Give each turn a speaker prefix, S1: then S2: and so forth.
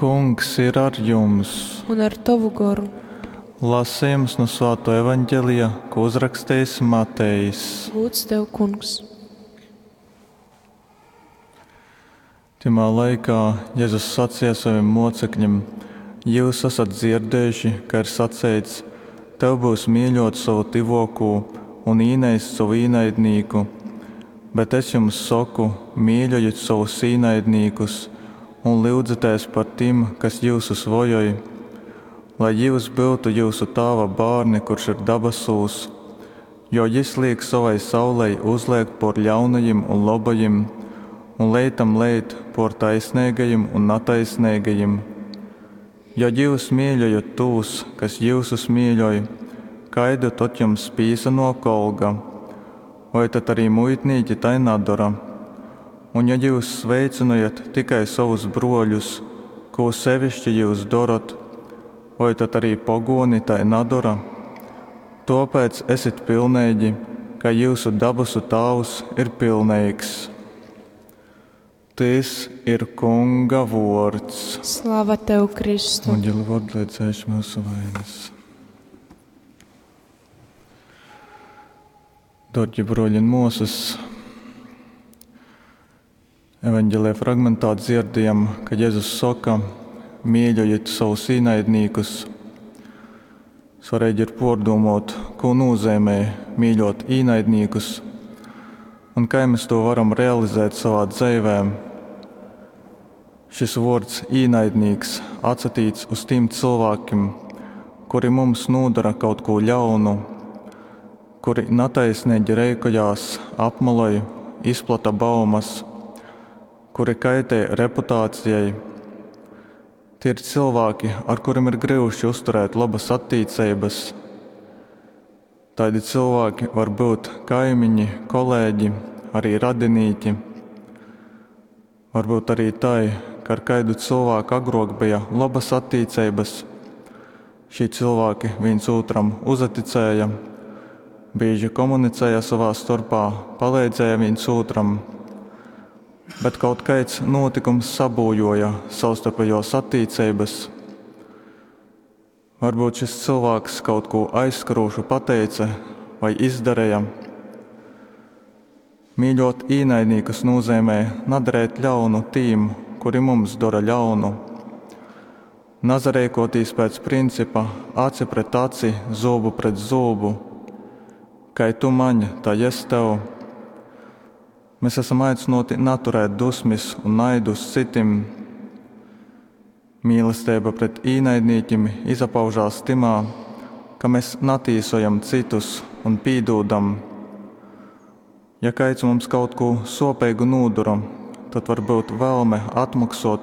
S1: Kungs ir ar jums!
S2: Un ar tovu goru.
S1: Lasījums nu Svāto evaņģelija, ko uzrakstījis Matejs.
S2: Gūds tev, kungs!
S1: Tymā laikā Jēzus sacīja saviem mocekļiem: Jūs esat dzirdējuši, ka ir saceits: Tev būs mīļot savu tyvōkū un īneist savu īnaidnīku. Bet es jums saku, mīļojiet savus īnaidnīkus un lyudzieties par tiem, kas jyusus vojoj, lai jūs būtu jūsu tāva bārni, kurš ir dabasūs, jo jis liek savai saulei uzliekt por ļaunajiem un labajiem, un leitam leit por taisnīgajiem un nataisnīgajiem. Ja jūs mīļojat tos, kas jūsus mīļoj, kaidu tad jums pīsanok olga? Vai tad arī muitnīki tai nadara? Un ja jūs sveicinājiet tikai savus broļus, ko sevišķi jūs darat, vai tad arī pogoni tai nadara? Tāpēc esiet pilnīgi, ka jūsu dabasu Tēvs ir pilnīgs. Tys ir Kunga vārds.
S2: Slava tev, Kristu!
S1: Un Dievu vārdu, lai dzēš mūsu vainas. Dārgie broļi un māsas, evanģēlijā fragmentā dzirdējam, ka Jēzus saka, mīļojiet savus īnaidnīkus. Svarīgi ir pārdomāt, ko nozīmē mīļot īnaidnīkus un kā mēs to varam realizēt savā dzīvē. Šis vārds īnaidnīks atsatīts uz tiem cilvēkiem, kuri mums nodara kaut ko ļaunu, kuri netaisnīgi reikojās, apmaloj, izplata baumas, kuri kaitē reputācijai. Tie ir cilvēki, ar kuriem ir grūti uzturēt labas attiecības. Tādi cilvēki var būt kaimiņi, kolēģi, arī radinīki. Varbūt arī tai, ka ar kādu cilvēku agrāk bija labas attiecības. Šie cilvēki viens otram uzticēja, bieži komunicēja savā starpā, palīdzēja viens otram. Bet kaut kāds notikums sabūjoja savstarpējos attiecības. Varbūt šis cilvēks kaut ko aizskarošu pateica vai izdarīja. Mīļot īnaidnīkus nozīmē nadarēt ļaunu tīm, kuri mums dara ļaunu. Nazarēkotīs pēc principa aci pret aci, zobu pret zobu. Kai tu maņ, tā es tev. Mēs esam aicināti naturēt dusmas un naidu uz citiem. Mīlestība pret īnaidnīkiem izpaužās timā, ka mēs natīsojam citus un pīdūdam. Ja kāds mums kaut ko sopīgu nodara, tad var būt vēlme atmaksot